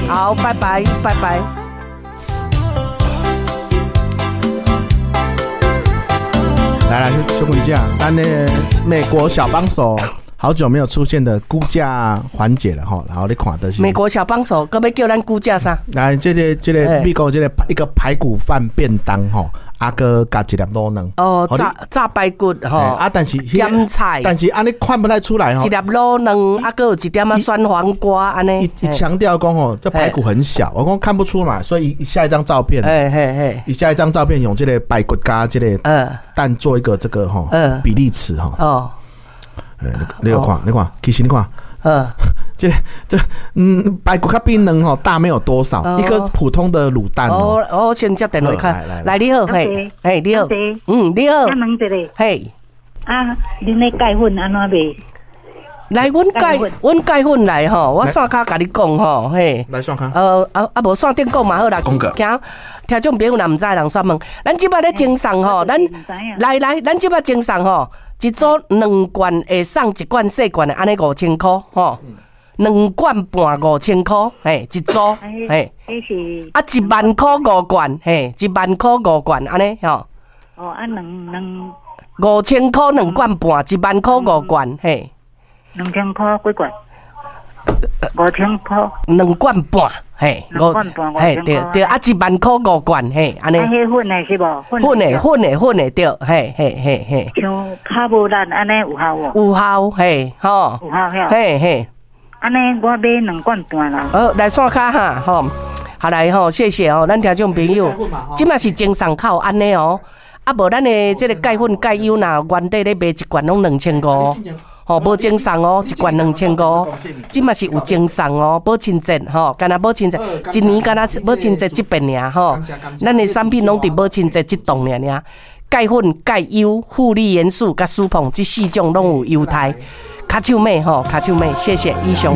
好，拜拜，拜拜。來來，小滾姐，咱的美國小幫手好久沒有出現的估價環節了吼，然後你看的是美國小幫手，閣欲叫咱估價啥？來，這個美國這個一個排骨飯便當吼，啊閣加一粒滷卵。哦，炸炸排骨吼。啊，但是鹹菜，但是按呢看不太出來吼。一粒滷卵，啊閣有一點仔酸黃瓜按呢。伊強調講吼，這排骨很小，我講看不出嘛，所以下一張照片，伊下一張照片用這個排骨加這個蛋做一個這個吼比例尺吼。哦。你有看，你看，其實你看，這排骨較比卵吼大沒有多少，一個普通的滷蛋哦。哦，先接電話看，來你好，嘿，嘿你好，你好，嘿，啊，恁咧鈣粉按怎賣？來，阮鈣粉來吼，我線跤共你講吼，嘿。來線跤。啊啊，無線頂講嘛好啦。驚聽眾朋友若毋知，人煞問。咱這擺咧贈送吼，咱來來，咱這擺贈送吼，一組兩罐會送一罐細罐的，按呢5000箍吼。兩罐半5000箍，嘿，一組，嘿。啊，1萬箍五罐，嘿，1萬箍五罐，按呢吼。哦，啊，兩兩。5000箍兩罐半，1萬箍五罐，嘿。2000箍幾罐？5000箍。兩罐半，嘿，兩罐半，嘿，對對，啊，1萬箍五罐，嘿，按呢。啊，彼粉的是無？粉的，粉的，粉的，對，嘿，嘿，嘿，嘿。像較無力按呢有效無？有效，嘿，吼。有效，嘿嘿。按呢，我買兩罐半啦。好，來線跤哈，吼，好來吼，謝謝哦，咱聽眾朋友，這馬是贈送較有按呢哦，啊無咱的這個鈣粉鈣油若原底咧賣一罐攏2500。吼，無贈送哦，一罐2500，這馬是有贈送哦，母親節吼，敢若母親節，一年敢若母親節這遍爾吼，咱的產品攏佇母親節這檔爾爾，鈣粉、鈣油、護理元素佮舒膨這四種攏有優待，跤手買吼，跤手買，謝謝以上。